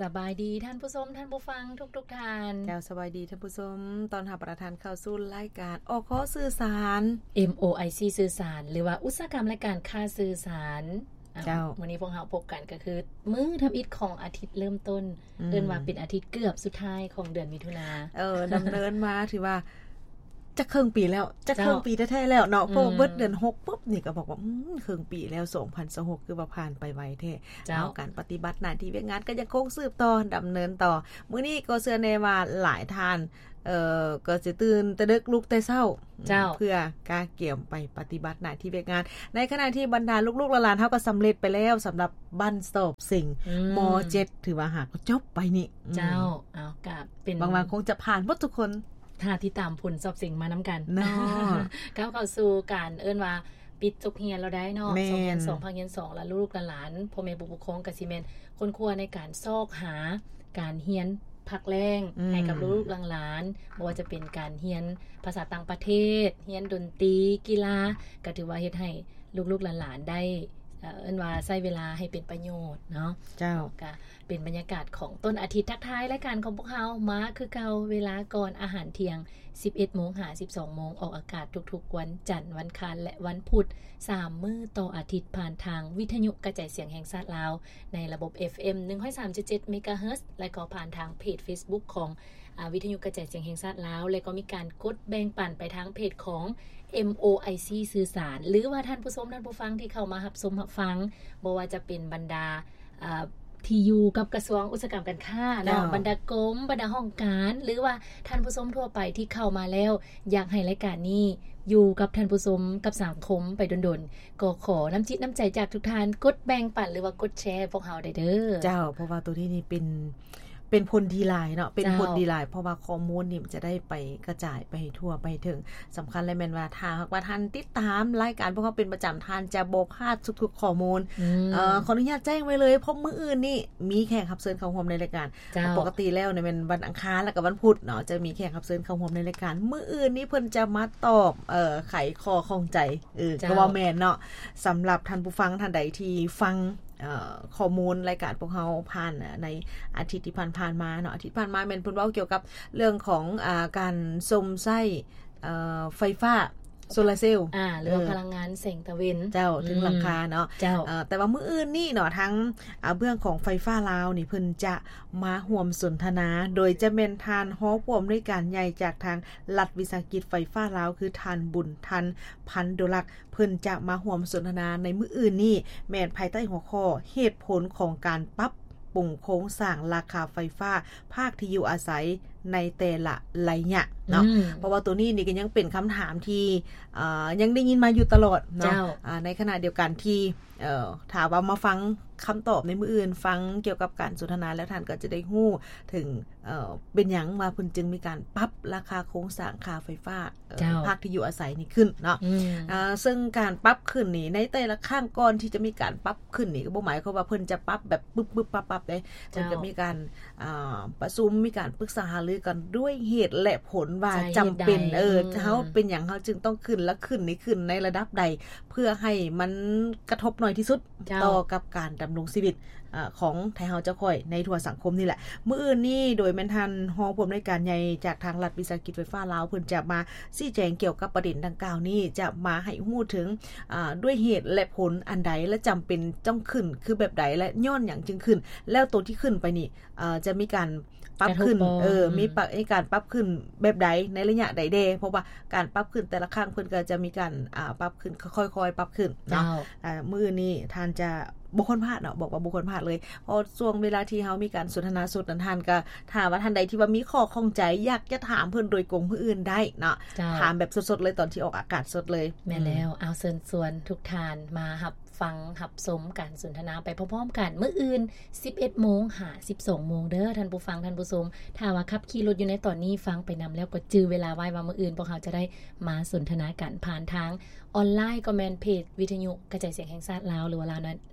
ສະບາຍດີທ່ານຜູ້ຊົມ ທ່ານຜູ້ຟັງທຸກໆທ່ານ. ເຈົ້າ ສະບາຍດີທ່ານຜູ້ຊົມ, ຕ້ອນຮັບພວກທ່ານເຂົ້າສູ່ລາຍການ ອຄ ສື່ສານ ເອັມ ໂອ ໄອ ຊີ ສື່ສານ ຫຼືວ່າອຸດສາຫະກຳລາຍການຄ້າສື່ສານ. ເຈົ້າ ມື້ນີ້ພວກເຮົາພົບກັນກໍຄືມື້ທຳອິດຂອງອາທິດເລີ່ມຕົ້ນ ອືມ ເອີ້ນວ່າເປັນອາທິດເກືອບສຸດທ້າຍຂອງເດືອນມິຖຸນາ. ເອີ ດຳເນີນມາຖືວ່າ ຈະເຄິ່ງປີແລ້ວ ຈະເຄິ່ງປີແທ້ໆແລ້ວເນາະ. ເຈົ້າ ເພາະວ່າ ອືມ ເບິດເດືອນຫົກປຸບນີ້ກໍບອກວ່າ ອືມ ເຄິ່ງປີແລ້ວ ສອງພັນຊາວຫົກ ຄືວ່າຜ່ານໄປໄວແທ້. ເຈົ້າ ເອົາ ການປະຕິບັດໜ້າທີ່ວຽກງານກໍຍັງຄົງສືບຕໍ່ ດຳເນີນຕໍ່. ມື້ນີ້ກໍເຊື່ອແນ່ວ່າຫຼາຍທ່ານ ເອີ ກໍຊິຕື່ນແຕ່ເດິກ ລຸກແຕ່ເຊົ້າ ເຈົ້າ ເພື່ອກະກຽມໄປປະຕິບັດໜ້າທີ່ວຽກງານ. ໃນຂະນະທີ່ບັນດາລູກໆຫຼານໆເຮົາກໍສຳເລັດໄປແລ້ວ ສຳລັບບັ້ນສອບເສັງ ອືມ ມໍເຈັດ ຖືວ່າຫາກໍຈົບໄປນີ້. ອືມ ເຈົ້າ ເອົາ ກະເປັນ ຫວັງວ່າຄົງຈະຜ່ານໝົດທຸກຄົນ. ຖ້າຕິດຕາມຜົນສອບເສັງມານຳກັນເນາະ. ກ້າວເຂົ້າສູ່ການເອີ້ນວ່າປິດຈົບຮຽນແລ້ວໄດ໋ເນາະ. ແມ່ນ ສອງພັນຊາວສອງ ພາກຮຽນສອງ ແລະ ລູກໆຫຼານໆ ພໍ່ແມ່ຜູ້ປົກຄອງກໍຊິແມ່ນຄົ້ນຄວ້າໃນການຊອກຫາການຮຽນພັກແລງ ອືມ ໃຫ້ກັບລູກໆຫຼານໆ, ບໍ່ວ່າຈະເປັນການຮຽນພາສາຕ່າງປະເທດ, ຮຽນດົນຕີ, ກິລາ, ກໍຖືວ່າເຮັດໃຫ້ລູກໆຫຼານໆໄດ້ ເອີ ເອີ້ນວ່າໃຊ້ເວລາໃຫ້ເປັນປະໂຫຍດເນາະ. ເຈົ້າ ກໍ ເປັນບັນຍາກາດຂອງຕົ້ນອາທິດ. ທັກທາຍລາຍການຂອງພວກເຮົາມາຄືເກົ່າ ເວລາກ່ອນອາຫານທ່ຽງ ສິບເອັດໂມງຫາສິບສອງໂມງ, ອອກອາກາດທຸກໆວັນຈັນ, ວັນຄານ ແລະ ວັນພຸດ ສາມມື້ຕໍ່ອາທິດ ຜ່ານທາງວິທະຍຸກະຈາຍສຽງແຫ່ງຊາດລາວ ໃນລະບົບ ເອັຟເອັມ ໜຶ່ງຮ້ອຍສາມຈຸດເຈັດ ເມກາເຮີດ ແລະ ກໍຜ່ານທາງເພຈເຟສບຸກຂອງ ອາ ວິທະຍຸກະຈາຍສຽງແຫ່ງຊາດລາວ ແລະ ກໍມີການກົດແບ່ງປັນໄປທາງເພຈຂອງ ເອັມ ໂອ ໄອ ຊີ ສື່ສານ ຫຼືວ່າທ່ານຜູ້ຊົມ ທ່ານຜູ້ຟັງທີ່ເຂົ້າມາຮັບຊົມຮັບຟັງ ບໍ່ວ່າຈະເປັນບັນດາ ເອີ ທີ່ຢູ່ກັບກະຊວງອຸດສາຫະກຳການຄ້າເນາະ, ເຈົ້າ ບັນດາກົມ, ບັນດາຫ້ອງການ ຫຼືວ່າທ່ານຜູ້ຊົມທົ່ວໄປທີ່ເຂົ້າມາແລ້ວ ຢາກໃຫ້ລາຍການນີ້ຢູ່ກັບທ່ານຜູ້ຊົມ ກັບສັງຄົມໄປດົນໆ, ກໍຂໍນ້ຳຈິດນ້ຳໃຈຈາກທຸກທ່ານ ກົດແບ່ງປັນ ຫຼືວ່າກົດແຊໃຫ້ພວກເຮົາໄດ້ເດີ. ເຈົ້າ ເພາະວ່າໂຕນີ້ນີ້ເປັນ ເປັນຜົນດີຫຼາຍເນາະ, ເປັນ ເຈົ້າ ຜົນດີຫຼາຍ ເພາະວ່າຂໍ້ມູນນີ້ມັນຈະໄດ້ໄປກະຈາຍໄປໃຫ້ທົ່ວໄປໃຫ້ເຖິງ. ສຳຄັນແລະແມ່ນວ່າ ຖ້າຫາກວ່າທ່ານຕິດຕາມລາຍການພວກເຮົາເປັນປະຈຳ ທ່ານຈະບໍ່ພາດທຸກໆຂໍ້ມູນ. ອືມ ເອີ ຂໍອະນຸຍາດແຈ້ງໄວ້ເລີຍ ເພາະມື້ອື່ນນີ້ມີແຂກຮັບເຊີນເຂົ້າຮ່ວມໃນລາຍການ. ເຈົ້າ ປົກກະຕິແລ້ວນີ້ແມ່ນວັນອັງຄານ ແລະ ກໍວັນພຸດເນາະ ຈະມີແຂກຮັບເຊີນເຂົ້າຮ່ວມໃນລາຍການ. ມື້ອື່ນນີ້ເພິ່ນຈະມາຕອບ ເອີ ໄຂຂໍ້ຂ້ອງໃຈ. ເອີ ເຈົ້າ ກໍວ່າແມ່ນເນາະ. ສຳລັບທ່ານຜູ້ຟັງທ່ານໃດທີ່ຟັງ ເອີ ຂໍ້ມູນລາຍການພວກເຮົາຜ່ານໃນອາທິດທີ່ຜ່ານໆມາເນາະ, ອາທິດຜ່ານມາແມ່ນເພິ່ນເວົ້າກ່ຽວກັບເລື່ອງຂອງ ອາ ການຊົມໃຊ້ ເອີ ໄຟຟ້າໂຊລາເຊວ ອາ ຫຼືວ່າ ເອີ ພະລັງງານແສງຕາເວັນ ເຈົ້າ ເຖິງ ອືມ ຫຼັງຄາເນາະ. ເຈົ້າ ເອີ ແຕ່ວ່າມື້ອື່ນນີ້ເນາະ ທາງ ອາ ເບື້ອງຂອງໄຟຟ້າລາວນີ້ ເພິ່ນຈະມາຮ່ວມສົນທະນາ ໂດຍຈະແມ່ນທ່ານຮອງຜູ້ອຳນວຍການໃຫຍ່ຈາກທາງລັດວິສາຫະກິດໄຟຟ້າລາວ ຄືທ່ານ ບຸນທັນ ພັນໂດລັກ. ເພິ່ນຈະມາຮ່ວມສົນທະນາໃນມື້ອື່ນນີ້ ແມ່ນພາຍໃຕ້ຫົວຂໍ້ ເຫດຜົນຂອງການປັບປຸງໂຄງສ້າງລາຄາໄຟຟ້າພາກທີ່ຢູ່ອາໄສໃນແຕ່ລະໄລຍະເນາະ. ອືມ ເພາະວ່າໂຕນີ້ນີ້ກໍຍັງເປັນຄຳຖາມທີ່ ເອີ ຍັງໄດ້ຍິນມາຢູ່ຕະຫຼອດເນາະ. ເຈົ້າ ອາ ໃນຂະນະດຽວກັນທີ່ ເອີ ຖ້າວ່າມາຟັງຄຳຕອບໃນມື້ອື່ນ, ຟັງກ່ຽວກັບການສົນທະນາແລ້ວ, ທ່ານກໍຈະໄດ້ຮູ້ເຖິງ ເອີ ເປັນຫຍັງວ່າເພິ່ນຈຶ່ງມີການປັບລາຄາໂຄງສ້າງຄ່າໄຟຟ້າ ເອີ ເຈົ້າ ພາກທີ່ຢູ່ອາໄສນີ້ຂຶ້ນເນາະ. ອືມ ເອີ ເຊິ່ງການປັບຂຶ້ນນີ້ ໃນແຕ່ລະຄັ້ງກ່ອນທີ່ຈະມີການປັບຂຶ້ນນີ້ ກໍບໍ່ໝາຍຄວາມວ່າເພິ່ນຈະປັບແບບປຶບໆປັບໆເດ້. ເຈົ້າ ເພິ່ນກໍມີການ ອ່າ ປະຊຸມ ມີການປຶກສາຫາລືກັນດ້ວຍເຫດແລະຜົນວ່າຈຳເປັນ ເອີ ເຮົາເປັນຫຍັງເຮົາຈຶ່ງຕ້ອງຂຶ້ນ ແລະ ຂຶ້ນນີ້ຂຶ້ນໃນລະດັບໃດ ເພື່ອໃຫ້ມັນກະທົບໜ້ອຍທີ່ສຸດ ເຈົ້າ ຕໍ່ກັບການດຳລົງຊີວິດ ເອີ ຂອງໄທເຮົາເຈົ້າຂ້ອຍໃນທົ່ວສັງຄົມນີ້ແຫຼະ. ມື້ອື່ນນີ້ໂດຍແມ່ນທ່ານຮອງຜູ້ອຳນວຍການໃຫຍ່ຈາກທາງລັດວິສາຫະກິດໄຟຟ້າລາວ ເພິ່ນຈະມາຊີ້ແຈງກ່ຽວກັບປະເດັນດັ່ງກ່າວນີ້ ຈະມາໃຫ້ຮູ້ເຖິງ ອາ ດ້ວຍເຫດແລະຜົນອັນໃດ ແລະ ຈຳເປັນຕ້ອງຂຶ້ນຄືແບບໃດ ແລະ ຍ້ອນຫຍັງຈຶ່ງຂຶ້ນ ແລ້ວໂຕທີ່ຂຶ້ນໄປນີ້ ເອີ ຈະມີການປັບຂຶ້ນ ກະທົບບໍ່ ເອີ ອືມ ມີປະ ມີການປັບຂຶ້ນແບບໃດ ໃນໄລຍະໃດແດ່ ເພາະວ່າການປັບຂຶ້ນແຕ່ລະຄັ້ງເພິ່ນກໍຈະມີການ ອາ ປັບຂຶ້ນ ຄ່ອຍໆປັບຂຶ້ນເນາະ. ເຈົ້າ ອາ ມື້ນີ້ທ່ານຈະບໍ່ຄວນພາດເນາະ, ບອກວ່າບໍ່ຄວນພາດເລີຍ ເພາະຊ່ວງເວລາທີ່ເຮົາມີການສົນທະນາສົດນັ້ນ ທ່ານກໍ ຖ້າວ່າທ່ານໃດທີ່ວ່າມີຂໍ້ຂ້ອງໃຈ ຢາກຈະຖາມເພິ່ນໂດຍກົງມື້ອື່ນໄດ້ເນາະ. ເຈົ້າ ຖາມແບບສົດໆເລີຍ ຕອນທີ່ອອກອາກາດສົດເລີຍ. ແມ່ນແລ້ວ ອືມ ເອົາ ເຊີນຊວນທຸກທ່ານມາຮັບ ຟັງຮັບຊົມການສົນທະນາໄປພ້ອມໆກັນ ມື້ອື່ນ ສິບເອັດໂມງຫາສິບສອງໂມງເດີທ່ານຜູ້ຟັງທ່ານຜູ້ຊົມ. ຖ້າວ່າຂັບຂີ່ລົດຢູ່ໃນຕອນນີ້ ຟັງໄປນຳແລ້ວກໍຈື່ເວລາໄວ້ວ່າມື້ອື່ນພວກເຮົາຈະໄດ້ມາສົນທະນາກັນຜ່ານທາງອອນລາຍ ກໍແມ່ນເພຈວິທະຍຸກະຈາຍສຽງແຫ່ງຊາດລາວ ຫຼືວ່າ Lao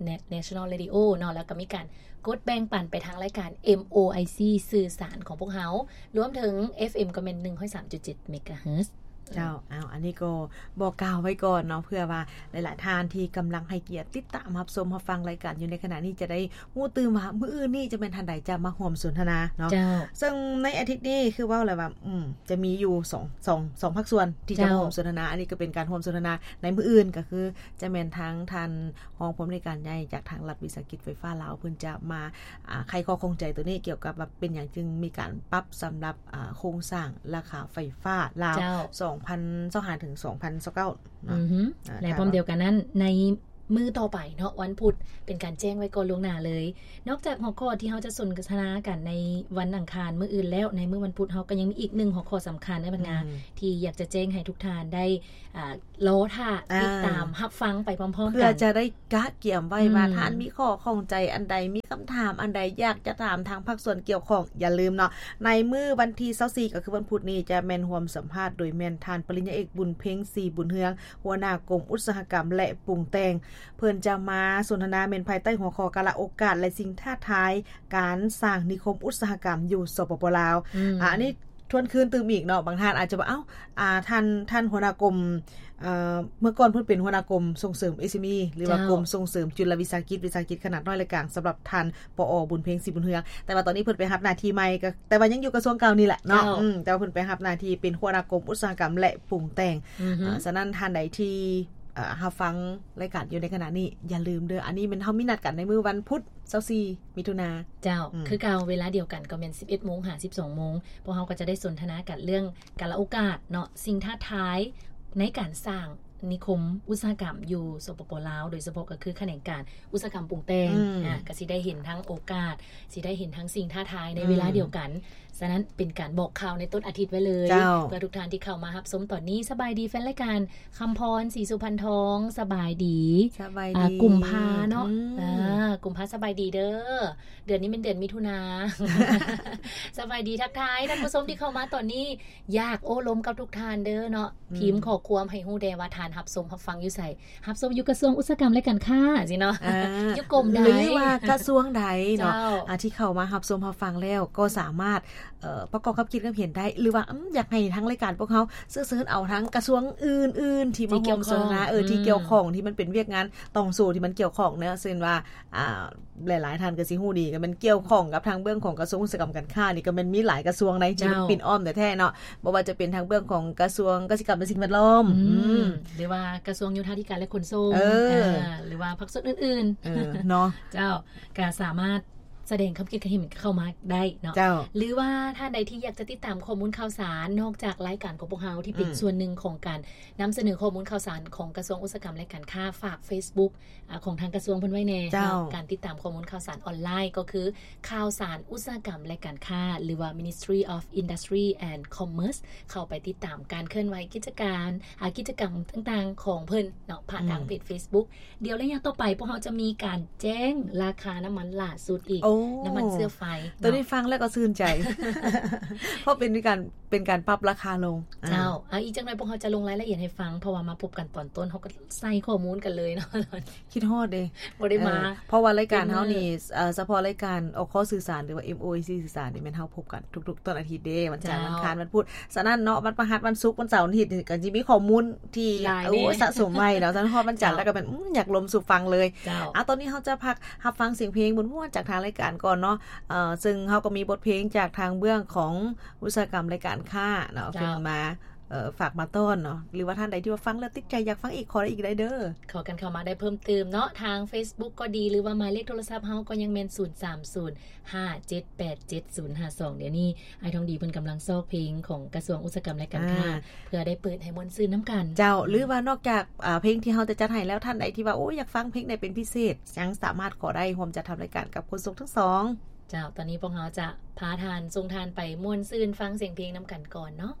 National Radio ເນາະ, ແລ້ວກໍມີການກົດແບ່ງປັນໄປທາງລາຍການ ເອັມ ໂອ ໄອ ຊີ ສື່ສານຂອງພວກເຮົາ, ລວມເຖິງ ເອັຟ ເອັມ ກໍແມ່ນ ໜຶ່ງຮ້ອຍສາມຈຸດເຈັດ ເມກາເຮີດ. ເຈົ້າ ເອົາ ອັນນີ້ກໍບອກກ່າວໄວ້ກ່ອນເນາະ ເພື່ອວ່າຫຼາຍໆທ່ານທີ່ກຳລັງໃຫ້ກຽດຕິດຕາມຮັບຊົມຮັບຟັງລາຍການຢູ່ໃນຂະນະນີ້ ຈະໄດ້ຮູ້ຕື່ມວ່າມື້ອື່ນນີ້ຈະແມ່ນທ່ານໃດຈະມາຮ່ວມສົນທະນາເນາະ. ເຈົ້າ ເຊິ່ງໃນອາທິດນີ້ຄືເວົ້າແລ້ວວ່າ ອືມ ຈະມີຢູ່ສອງ ສອງ ສອງພາກສ່ວນທີ່ຈະ ເຈົ້າ ມາຮ່ວມສົນທະນາ. ອັນນີ້ກໍເປັນການຮ່ວມສົນທະນາໃນມື້ອື່ນ ກໍຄືຈະແມ່ນທາງທ່ານຮອງຜູ້ອຳນວຍການໃຫຍ່ຈາກທາງລັດວິສາຫະກິດໄຟຟ້າລາວ ເພິ່ນຈະມາ ອ່າ ໄຂຂໍ້ຂ້ອງໃຈໂຕນີ້ ກ່ຽວກັບວ່າເປັນຫຍັງຈຶ່ງມີການປັບສຳລັບ ອ່າ ໂຄງສ້າງລາຄາໄຟຟ້າລາວ ເຈົ້າ ສອງພັນຊາວຫ້າ ເຖິງ ສອງພັນຊາວເກົ້າເນາະ. ອືຮຶ ອ່າ ແລະ ພ້ອມດຽວກັນນັ້ນ ໃນມື້ຕໍ່ໄປເນາະ ວັນພຸດ ເປັນການແຈ້ງໄວ້ກ່ອນລ່ວງໜ້າເລີຍ. ນອກຈາກຫົວຂໍ້ທີ່ເຮົາຈະສົນທະນາກັນໃນວັນອັງຄານມື້ອື່ນແລ້ວ, ໃນມື້ວັນພຸດເຮົາກໍຍັງມີອີກໜຶ່ງຫົວຂໍ້ສຳຄັນເດີບັນງາ ອືມ ທີ່ຢາກຈະແຈ້ງໃຫ້ທຸກທ່ານໄດ້ ອ່າ ລໍຖ້າ ອ່າ ຕິດຕາມຮັບຟັງໄປພ້ອມໆກັນ ເພື່ອຈະໄດ້ກະກຽມໄວ້ວ່າ ອືມ ທ່ານມີຂໍ້ຂ້ອງໃຈອັນໃດ, ມີຄຳຖາມອັນໃດ ຢາກຈະຖາມທາງພາກສ່ວນກ່ຽວຂ້ອງ. ຢ່າລືມເນາະ ໃນມື້ວັນທີຊາວສີ່ ກໍຄືວັນພຸດນີ້ ຈະແມ່ນຮ່ວມສຳພາດໂດຍແມ່ນທ່ານປະລິນຍາເອກ ບຸນເພັງ ສີບຸນເຮືອງ ຫົວໜ້າກົມອຸດສາຫະກຳ ແລະ ປຸງແຕ່ງ. ເພິ່ນຈະມາສົນທະນາແມ່ນພາຍໃຕ້ຫົວຂໍ້ ກາລະໂອກາດ ແລະ ສິ່ງທ້າທາຍການສ້າງນິຄົມອຸດສາຫະກຳຢູ່ ສປປ ລາວ. ອືມ ອ່າ ອັນນີ້ ທວນຄືນຕື່ມອີກເນາະ, ບາງທ່ານອາດຈະວ່າ ເອົ້າ ອ່າ ທ່ານ ທ່ານຫົວໜ້າກົມ ເອີ ເມື່ອກ່ອນເພິ່ນເປັນຫົວໜ້າກົມສົ່ງເສີມ ເອສເອັມອີ ຫຼືວ່າ ເຈົ້າ ກົມສົ່ງເສີມຈຸລະວິສາຫະກິດ ວິສາຫະກິດຂະໜາດນ້ອຍ ແລະ ກາງ ສຳລັບທ່ານ ປອ ບຸນເພັງ ສີບຸນເຮືອງ. ແຕ່ວ່າຕອນນີ້ເພິ່ນໄປຮັບໜ້າທີ່ໃໝ່ ກໍ ແຕ່ວ່າຍັງຢູ່ກະຊວງເກົ່ານີ້ແຫຼະເນາະ. ເຈົ້າ ອືມ ແຕ່ວ່າເພິ່ນໄປຮັບໜ້າທີ່ເປັນຫົວໜ້າກົມອຸດສາຫະກຳ ແລະ ປຸງແຕ່ງ. ອືຮຶ ອ່າ ສະນັ້ນທ່ານໃດທີ່ ເອີ ຮັບຟັງລາຍການຢູ່ໃນຂະນະນີ້ ຢ່າລືມເດີ, ອັນນີ້ແມ່ນເຮົາມີນັດກັນໃນມື້ວັນພຸດ ຊາວສີ່ ມິຖຸນາ. ເຈົ້າ ອືມ ຄືເກົ່າ ເວລາດຽວກັນກໍແມ່ນ ສິບເອັດໂມງ ຫາ ສິບສອງໂມງ. ພວກເຮົາກໍຈະໄດ້ສົນທະນາກັນເລື່ອງກາລະໂອກາດເນາະ, ສິ່ງທ້າທາຍໃນການສ້າງນິຄົມອຸດສາຫະກຳຢູ່ ສປປ ລາວ, ໂດຍສະເພາະກໍຄືຂະແໜງການອຸດສາຫະກຳປຸງແຕ່ງ. ອືມ ອ່າ ກໍຊິໄດ້ເຫັນທັງໂອກາດ, ຊິໄດ້ເຫັນທັງສິ່ງທ້າທາຍໃນ ອືມ ເວລາດຽວກັນ. ສະນັ້ນເປັນການບອກຂ່າວໃນຕົ້ນອາທິດໄວ້ເລີຍ ເຈົ້າ ເພື່ອທຸກທ່ານທີ່ເຂົ້າມາຮັບຊົມຕອນນີ້. ສະບາຍດີແຟນລາຍການ ຄຳພອນ ສີສຸພັນທອງ ສະບາຍດີ. ສະບາຍດີ ອ່າ ກຸມພາເນາະ. ອືມ ອ່າ ກຸມພາ ສະບາຍດີເດີ. ເດືອນນີ້ແມ່ນເດືອນມິຖຸນາ. ສະບາຍດີ ທັກທາຍທ່ານຜູ້ຊົມທີ່ເຂົ້າມາຕອນນີ້. ຢາກໂອ້ລົມກັບທຸກທ່ານເດີເນາະ. ອືມ ພິມຂໍ້ຄວາມໃຫ້ຮູ້ແດ່ວ່າທ່ານຮັບຊົມຮັບຟັງຢູ່ໃສ? ຮັບຊົມຢູ່ກະຊວງອຸດສາຫະກຳ ແລະ ການຄ້າຊີ້ເນາະ. ອ່າ ຢູ່ກົມໃດ ຫຼືວ່າກະຊວງໃດເນາະ. ເຈົ້າ ອ່າ ທີ່ເຂົ້າມາຮັບຊົມຮັບຟັງແລ້ວກໍສາມາດ ເອີ ປະກອບຄຳຄິດຄຳເຫັນໄດ້ ຫຼືວ່າ ອືມ ຢາກໃຫ້ທາງລາຍການພວກເຮົາເຊີຍເຊີນເອົາທາງກະຊວງອື່ນໆທີ່ມາຮ່ວມສົນທະນາ ທີ່ກ່ຽວຂ້ອງ ເອີ ທີ່ ອືມ ກ່ຽວຂ້ອງ ທີ່ມັນເປັນວຽກງານຕ່ອງໂສ້ທີ່ມັນກ່ຽວຂ້ອງເນາະ. ເຊັ່ນວ່າ ອ່າ ຫຼາຍໆທ່ານກໍຊິຮູ້ດີ ກໍແມ່ນກ່ຽວຂ້ອງກັບທາງເບື້ອງຂອງກະຊວງອຸດສາຫະກຳການຄ້ານີ້ ກໍແມ່ນມີຫຼາຍກະຊວງໃນທີ່ມັນ ເຈົ້າ ປິ່ນອ້ອມແທ້ໆເນາະ. ບໍ່ວ່າຈະເປັນທາງເບື້ອງຂອງກະຊວງກະສິກຳ ແລະ ສິ່ງແວດລ້ອມ ອືມ ອືມ ຫຼືວ່າກະຊວງໂຍທາທິການ ແລະ ຂົນສົ່ງ ເອີ ອ່າ ຫຼືວ່າພາກສ່ວນອື່ນໆ ເອີ ເນາະ. ເຈົ້າ ກໍສາມາດ ສະແດງຄຳຄິດຄຳເຫັນເຂົ້າມາໄດ້ເນາະ. ເຈົ້າ ຫຼືວ່າທ່ານໃດທີ່ຢາກຈະຕິດຕາມຂໍ້ມູນຂ່າວສານ ນອກຈາກລາຍການຂອງພວກເຮົາທີ່ເປັນ ອືມ ສ່ວນໜຶ່ງຂອງການນຳສະເໜີຂໍ້ມູນຂ່າວສານຂອງກະຊວງອຸດສາຫະກຳ ແລະ ການຄ້າ, ຝາກ Facebook ອາ ຂອງທາງກະຊວງເພິ່ນໄວ້ແດ່. ເຈົ້າ ເນາະ ການຕິດຕາມຂໍ້ມູນຂ່າວສານອອນລາຍ ກໍຄືຂ່າວສານອຸດສາຫະກຳ ແລະ ການຄ້າ ຫຼືວ່າ Ministry of Industry and Commerce. ເຂົ້າໄປຕິດຕາມການເຄື່ອນໄຫວກິດຈະການ ອາ ກິດຈະກຳຕ່າງໆຂອງເພິ່ນເນາະ ຜ່ານທາງ ອືມ ເພຈ Facebook. ດຽວໄລຍະຕໍ່ໄປ ພວກເຮົາຈະມີການແຈ້ງລາຄານ້ຳມັນຫຼ້າສຸດອີກ. ໂອ້ ນ້ຳມັນເຊື້ອໄຟເນາະ. ໂຕນີ້ຟັງແລ້ວກໍຊື່ນໃຈ ເພາະເປັນການ ເປັນການປັບລາຄາລົງ. ເຈົ້າ ອາ ອີກຈັກໜ່ອຍພວກເຮົາຈະລົງລາຍລະອຽດໃຫ້ຟັງ ເພາະວ່າມາພົບກັນຕອນຕົ້ນ ເຮົາກໍໃສ່ຂໍ້ມູນກັນເລີຍເນາະ. ຄິດຮອດເດ້ ບໍ່ໄດ້ມາ ເອີ ເພາະວ່າລາຍການເຮົານີ້ ເອີ ສະເພາະລາຍການອອກຂໍ້ສື່ສານ ຫຼືວ່າ ເອັມໂອເອັສ ສື່ສານນີ້ ແມ່ນເຮົາພົບກັນທຸກໆຕົ້ນອາທິດເດ້ ວັນຈັນ ເຈົ້າ ວັນອັງຄານ ວັນພຸດ. ສະນັ້ນເນາະ ວັນພະຫັດ ວັນສຸກ ວັນເສົາ ວັນອາທິດ ກໍຊິມີຂໍ້ມູນ ທີ່ ຫຼາຍ ໂອ້ ເດ້ ສະສົມໄວ້ເນາະ. ສະນັ້ນຮອດວັນຈັນ ເຈົ້າ ແລ້ວກໍແມ່ນ ອືມ ຢາກລົມສູ່ຟັງເລີຍ. ເຈົ້າ ອາ ຕອນນີ້ເຮົາຈະພັກຮັບຟັງສຽງເພງມ່ວນໆຈາກທາງລາຍການກ່ອນເນາະ. ເອີ ເຊິ່ງເຮົາກໍມີບົດເພງຈາກທາງເບື້ອງຂອງອຸດສາຫະກຳ ແລະ ການຄ້າເນາະ ເຈົ້າ ເພິ່ນມາ ເອີ ຝາກມາຕ້ອນເນາະ. ຫຼືວ່າທ່ານໃດທີ່ວ່າຟັງແລ້ວຕິດໃຈ ຢາກຟັງອີກ ຂໍໄດ້ອີກໄດ້ເດີ. ຂໍກັນເຂົ້າມາໄດ້ເພີ່ມຕື່ມເນາະ ທາງ Facebook ກໍດີ ຫຼືວ່າໝາຍເລກໂທລະສັບເຮົາກໍຍັງແມ່ນ ສູນສາມສູນ ຫ້າເຈັດແປດເຈັດສູນຫ້າສອງ. ດຽວນີ້ອ້າຍທອງດີເພິ່ນກຳລັງຊອກເພງຂອງກະຊວງອຸດສາຫະກຳ ແລະ ການຄ້າ ອ່າ ເພື່ອໄດ້ເປີດໃຫ້ມ່ວນຊື່ນນຳກັນ. ເຈົ້າ ອືມ ຫຼືວ່ານອກຈາກ ອ່າ ເພງທີ່ເຮົາຈະຈັດໃຫ້ແລ້ວ ທ່ານໃດທີ່ວ່າ ໂອ້ ຢາກຟັງເພງໃດເປັນພິເສດ ຍັງສາມາດຂໍໄດ້ ຮ່ວມຈັດທຳລາຍການກັບໂຄສົກທັງສອງ. ເຈົ້າ ຕອນນີ້ພວກເຮົາຈະພາທ່ານ ສົ່ງທ່ານໄປມ່ວນຊື່ນຟັງສຽງເພງນຳກັນກ່ອນເນາະ.